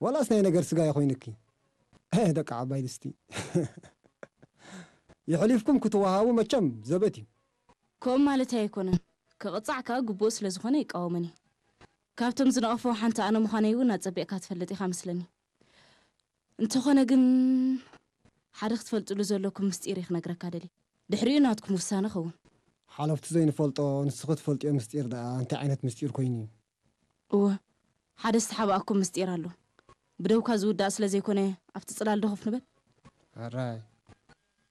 ዋላስ ናይ ነገር ስጋ ይኾይንኪ? ደቂ ዓባይ ድስቲ። ይሕሊፍኩም ክትወሃቡ መቸም ዘበት እዩ። ከምኡ ማለት ኣይኮነን። ክቕጻዕ ከኣ ግቡእ ስለ ዝኾነ ይቃወመን እዩ። ካብቶም ዝነቐፈው ሓንቲ ኣነ ምዃነይ እውን ኣጸቢቕካ ትፈልጥ ኢኻ መስለኒ። እንተኾነ ግን ሓደ ክትፈልጥሉ ዘለኩም ምስጢር እዩ ክነግረካ ደሊ። ድሕሪኡ ናትኩም ውሳነ ኸውን። ሓለፍቲ ዘይንፈልጦ ንስኺ ትፈልጥዮ ምስጢር ደኣ እንታይ ዓይነት ምስጢር ኮይኑ እዩ? እወ፣ ሓደ ዝተሓባእኩም ምስጢር ኣሎ። ብደውካ ዝውዳእ ስለ ዘይኮነ ኣብቲ ጽላል ዶ ኮፍ ንበል። ኣራይ